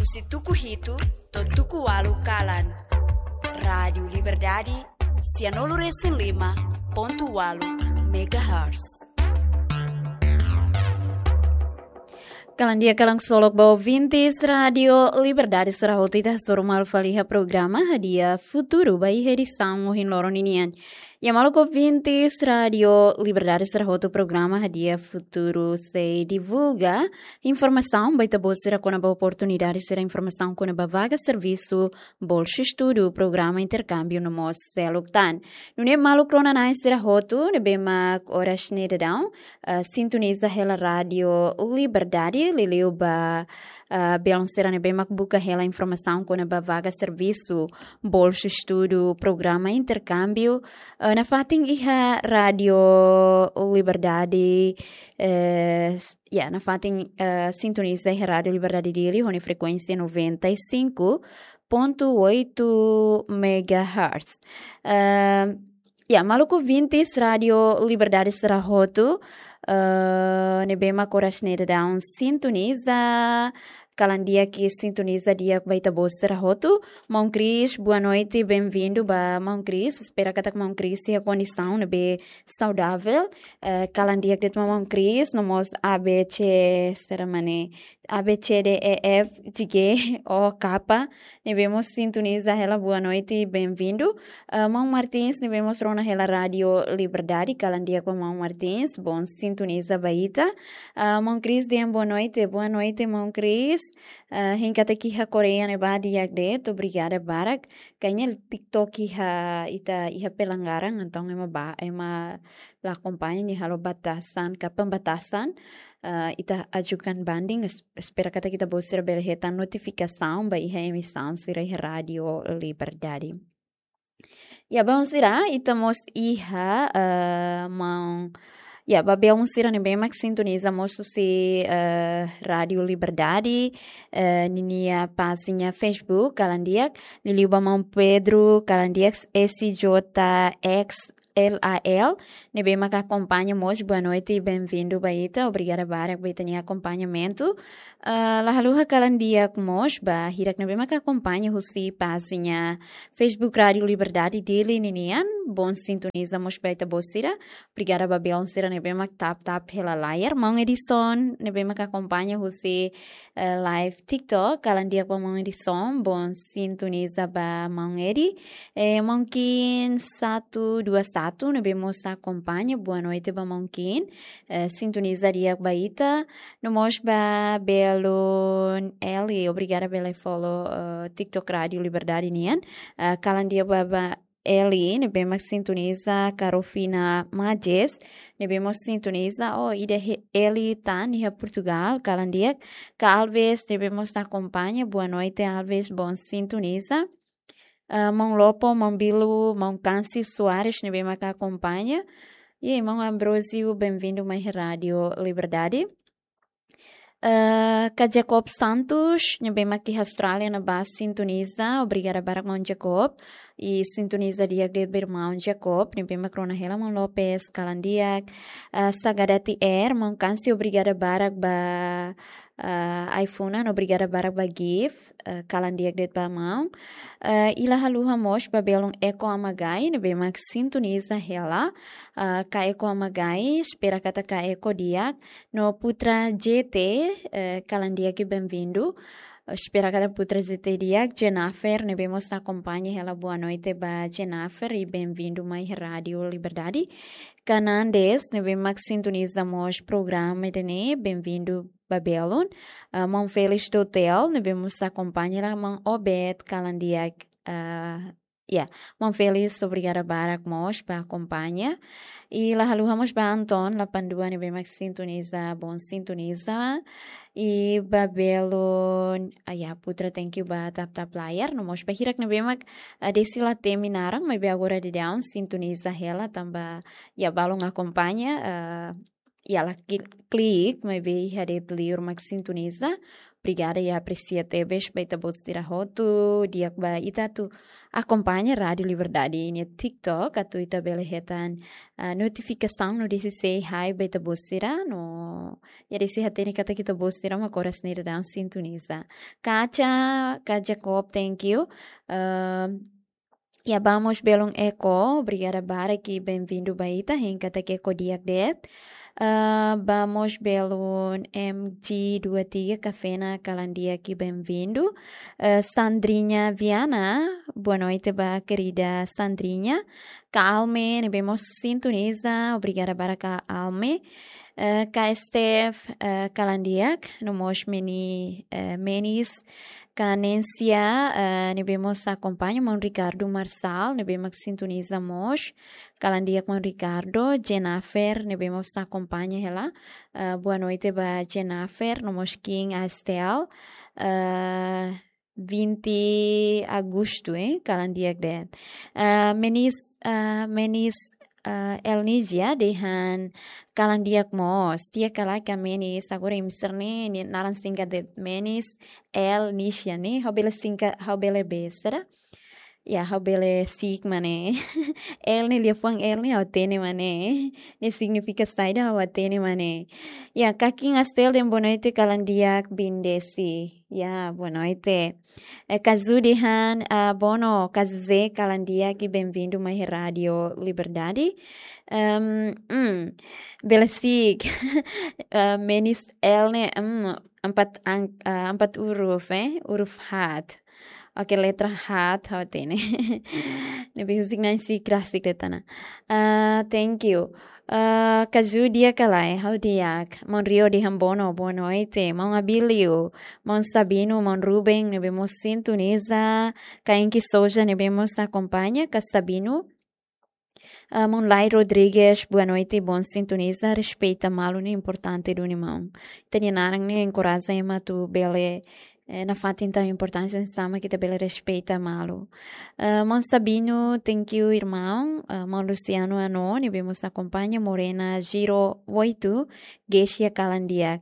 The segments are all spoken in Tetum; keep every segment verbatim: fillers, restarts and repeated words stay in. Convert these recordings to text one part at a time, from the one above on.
Husi tuku hitu to'o tuku ualu kalan. Rádiu Liberdade, sianulu resin lima pontu ualu megahertz. Kalan di'ak, kalan ksolok ba ouvintes Rádiu Liberdade sira hotu, ita hasoru malu fali iha programa Hadi'a Futuru ba iha edisaun ohin loron ninian. Ya, maluk ouvintes Rádiu Liberdade sira hotu, programa Hadi'a Futuru sei divulga informasaun ba ita-boot sira kona-ba oportunidade sira, informasaun kona-ba vaga servisu, bolsa estudu, programa interkámbiu no mós seluk tan. Nune'e maluk rona-na'in sira hotu ne'ebé mak oras ne'e daudaun, eh, sintoniza hela Rádiu Liberdade, liuliu ba, eh, belun sira ne'ebé mak buka hela informasaun kona-ba vaga servisu, bolsa estudu, programa interkámbiu, eh, nafatin iha Rádiu Liberdade, eh, s-, ya, nafatin, eh, sintoniza iha Rádiu Liberdade Dili ho nia frekuénsia noventa e cinco ponto oito megahertz. Eh, ya, maluk ouvintes Rádiu Liberdade sira hotu, eh, ne'ebé mak oras ne'e daudaun sintoniza, kalan di'ak, sintoniza di'ak ba ita-boot sira hotu. Maun Chris, boa noite, bem-vindo ba Maun Chris. Espera katak Maun Chris iha kondisaun ne'ebé saudável. Eh, kalan di'ak de'it ba Maun Chris, no mós A B C, sira mane, A B C D E F G O K, ne'ebé mós sintoniza hela, boa noite, bem-vindo. Eh, Maun Martins, ne'ebé mós rona hela Rádiu Liberdade, kalan di'ak ba Maun Martins, bom sintoniza ba ita. Eh, Maun Chris dehan boa noite, boa noite, Maun Chris. Eh, hein katak iha Koreia ne'ebá di'ak de'it, obrigada barak. Kayaknya TikTok iha, ita iha pelanggaran, entaun ema ba, ema la akompaña, nia halo batasan, ka pembatasan, eh, ita ajukan banding, es-, espera katak ita-boot sira bele hetan notifikasaun ba iha emisaun sira iha Rádiu Liberdade. Ya, belun sira, ita mós iha, eh, maun, ya, ba belun sira ne'ebé mak sintoniza mós husi, eh, Rádiu Liberdade, eh, ninia pájina Facebook, kalan di'ak, liuliu ba maun Pedro, kalan di'ak, S J X L A L, ne'ebé mak akompaña mós, boa noite, bem-vindo ba ita, obrigada barak ba ita-nia akompañamentu. Ah, la haluha kalan di'ak mós ba hirak ne'ebé mak akompaña husi pájina Facebook Rádiu Liberdade Dili ninian, bom sintoniza mós ba ita-boot sira. Obrigada ba belun sira ne'ebé mak tap tap hela layar. Maun Edison ne'ebé mak akompaña husi, eh, live TikTok, kalan di'ak ba maun Edison, bom sintoniza ba maun Edi. Eh, maun Kin satu dua satu ne'ebé mós akompaña, boa noite ba maun Kin. Eh, sintoniza di'ak ba ita. No mós ba belun Eli, obrigada bele follow, eh, TikTok Rádiu Liberdade nian. Eh, kalan di'ak ba, ba Eli, ne'ebé mak sintoniza, ka Rufina Majes, ne'ebé mós sintoniza, oh, ida he-, Eli tan iha Portugal, kalan di'ak, ka Alves, ne'ebé mós akompaña, boa noite, Alves, bom sintoniza. Ah, maun Lopo, maun Bilu, maun Câncio Soares, ne'ebé mak akompaña. E maun Ambrósio, bem-vindo mai Rádiu Liberdade. Eh, ka Jacob Santos, ne'ebé mak iha Austrália ne'ebá sintoniza, obrigada barak maun Jacob. I sintoniza di'ak de'it ba irmaun Jacob, ne'ebé mak rona hela maun Lopes, kalan di'ak. Eh, Sagadati Air, maun Câncio, obrigada barak ba, eh, iPhone, obrigada barak ba gift, eh, kalan di'ak de'it ba maun. Eh, i la haluha mós ba belun Eko Amagai, ne'ebé mak sintoniza hela. Eh, ka Eko Amagai, espera katak ka Eko di'ak. No Putra J T, eh, kalan di'ak i bem-vindo. Espera katak Putra J T di'ak. Jennifer, ne'ebé mós akompaña hela, boa noite ba Jennifer i bem-vindo mai Rádiu Liberdade. Ka Nandes, ne'ebé mak sintoniza mós programa ida-ne'e, bem-vindo ba belun. Ah, maun Felix do Hotel, ne'ebé mós akompaña hela, maun Obed, kalan di'ak, ah, ya, maun Felix, obrigada barak mós ba akompaña. I la haluha mós ba Anton, lapan dua, ne'ebé mak sintoniza, bom sintoniza. I ba belun, ah, ya, Putra, thank you ba tap-tap layar. No mós ba hirak ne'ebé mak, ah, desi la temi naran, maibé agora daudaun sintoniza hela, tanba, ya, balun akompaña, ah, iha la kli-, klik, maibé iha de'it liur mak sintoniza. Obrigada, i apresia tebes ba ita-boot sira hotu, di'ak ba ita atu akompaña Rádiu Liberdade iha TikTok, atu ita bele hetan, ah, notifikasaun no dezde sei hai ba ita-boot sira, no, ya dezde hatene katak ita-boot sira mak oras ne'e daudaun sintoniza. Kaja, Kaja Jacob, thank you. Ah, ya, ba mós belun Eko, obrigada barak i benvindu ba ita, hein katak Eko di'ak de'it. Ah, ba mós belun M G dua tiga Kafena, kalan di'ak i benvindu. Eh, Sandrinha Viana, boa noite ba querida Sandrinha. Ka Alme, ne'ebé mós sintoniza, obrigada barak ka Alme. Eh, ka Steph, eh, kalan di'ak, no mós meni, eh, Menis, ka Nencia, eh, ne'ebé mós akompaña, maun Ricardo Marçal, ne'ebé mak sintoniza mós, kalan di'ak maun Ricardo, Jennifer, ne'ebé mós akompaña hela, eh, boa noite ba Jennifer, no mós King Astel, eh, vinte Agosto, eh, kalan di'ak de'it. Eh, Menis, eh, Menis, eh, Elnigia dehan kalan di'ak mós. Tiha kala ka Menis, agora imi sira-ne'e, nia naran singkat de'it Menis Elnigia ne'e, ha'u bele singkat, ha'u bele besera. Ya, ha'u bele si'ik mak ne'e. El ne'e, liafuan el ne'e, ha'u hatene mak ne'e. Ne'e signifika saida, ha'u hatene mak ne'e. Ya, ka King Astel dehan boa noite, kalan di'ak, bindesi. Ya, boa noite. Eh, Kazu dehan, ah, bono, Kazu Zé, kalan di'ak i benvindu mai Rádiu Liberdade. Em, mm, bele si'ik. Eh, Menis L ne'e, mm, empat ang-, eh, empat huruf, eh, huruf haat. Oke, letra haat, ha'u hatene. Ne'ebé husik na'in si'ik rasik de'it ona. Ah, thank you. Ah, Kazu di'ak ka lae, ha'u di'ak. Maun Rio dehan bono, boa noite. Maun Abílio, maun Sabino, maun Ruben, ne'ebé mós sintoniza. Ka Enki Souza, ne'ebé mós akompaña, ka Sabino. Ah, maun Lai Rodrigues, boa noite, bom sintoniza, respeita malu ne'e importante duni maun. Ita-nia naran ne'e enkoraja ema atu bele, eh, nafatin tau importánsia hanesan mak ita bele respeita malu. Ah, maun Sabino, thank you, irmaun. Ah, maun Luciano Ano, ne'ebé mós akompaña, Morena zero oito, Geisha kalan di'ak.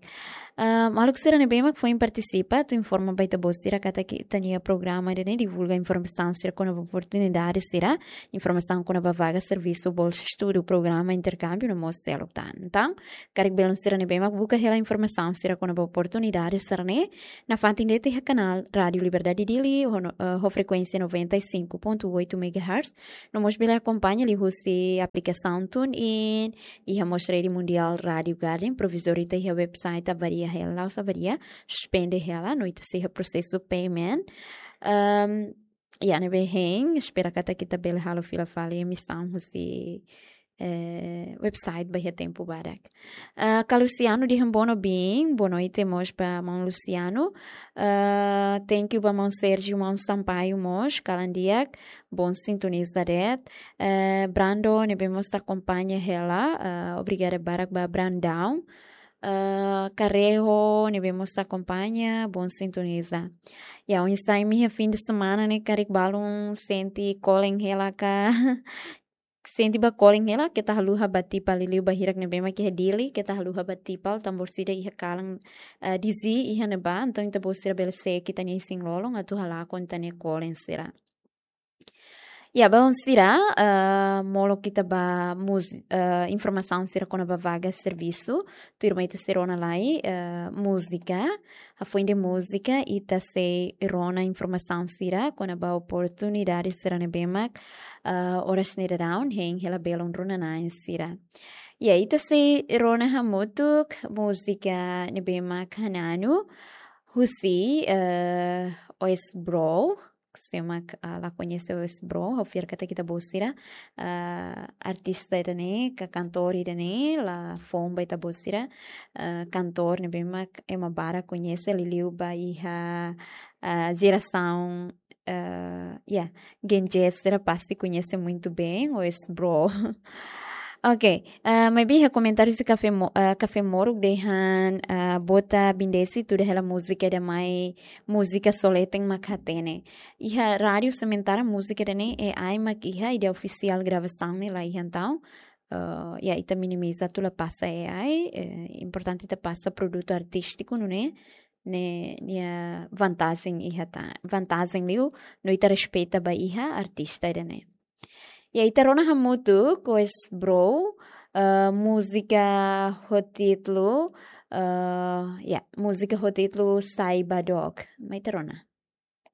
Ah, maluk sira ne'ebé mak foin partisipa, atu informa ba ita-boot sira katak ita-nia programa ida-ne'e divulga informasaun sira kona-ba oportunidade sira, informasaun kona-ba vaga servisu, bolsa estudu, programa interkámbiu no mós seluk tan. Entaun, karik belun sira ne'ebé mak buka hela informasaun sira kona-ba oportunidade sira-ne'e, nafatin de'it iha kanál Rádiu Liberdade Dili, ho, eh, ho frekuénsia noventa e cinco ponto oito megahertz, no mós bele akompaña liuhusi aplikasaun TuneIn, iha mós Rede Mundial Rádiu Garden, provizóriu ita iha website avaria hela, la'ós avaria, suspende hela, no ita sei iha prosesu payment. Ehm, ya, ne'ebé hein, espera katak ita bele halo fila fali emisaun husi, eh, website ba iha tempu badak. Ah, ka Luciano dehan bono bin, boa noite mós ba maun Luciano. Ah, thank you ba maun Sérgio, maun Sampaio mós, kalan di'ak, bom sintoniza de'it. Eh, Brando, ne'ebé mós akompaña hela, ah, obrigada barak ba Brandão. Ah, Kareho, ne'ebé mós akompaña, bom sintoniza. Ya, oinsá imi iha fim de semana ne'e, karik balun sente kolen hela ka? Sente ba kolen hela, keta haluha ba tipa liuliu ba hirak ne'ebé mak iha Dili, keta haluha ba tipa, tanba orsida iha kalan, eh, dezii iha ne'ebá, entaun ita-boot sira bele seek ita-nia isin-lolon, atu halakon ita-nia kolen sira. Ya, balun sira, eh, molok ita ba mus-, eh, informasaun sira kona-ba vaga servisu, tuirmai ita sei rona lai, eh, múzika, hafoin de múzika, ita sei rona informasaun sira kona-ba oportunidade sira ne'ebé mak, eh, oras ne'e daudaun hein hela belun rona-na'in sira. Ya, ita sei rona hamutuk múzika ne'ebé mak Hananu, husi, eh, Oes Bro, se mak, ah, la koñese Oes Bro, ha'u fiar katak ita-boot sira, ah, artista ida-ne'e, ka kantór ida-ne'e, la foun ba ita-boot sira, ah, kantór ne'ebé mak ema barak koñese liuliu ba iha, ah, jerasaun, ah, ya, Gen Z sira pasti koñese muito bem, Oes Bro. Ok, ah, maibé iha komentáriu husi Kafé Mo-, ah, Kafé Moruk dehan, ah, Bota Bindesi tuda hela múzika ida mai múzika só leten mak hatene. Iha rádiu sementara múzika ida-ne'e, eh, ai mak iha, ida ofisiál gravasaun ne'e la iha entaun. eh, ya, ita minimiza atu la pasa A I, eh, importante ita pasa produtu artístiku, nune'e, ne'e, nia vantajen iha tan, vantajen liu, no ita respeita ba iha artista ida-ne'e. Ya, ita rona hamutuk Wes Bro, eh, múzika ho títulu, eh, ya, múzika ho títulu Saiba Dook. Mai ita rona.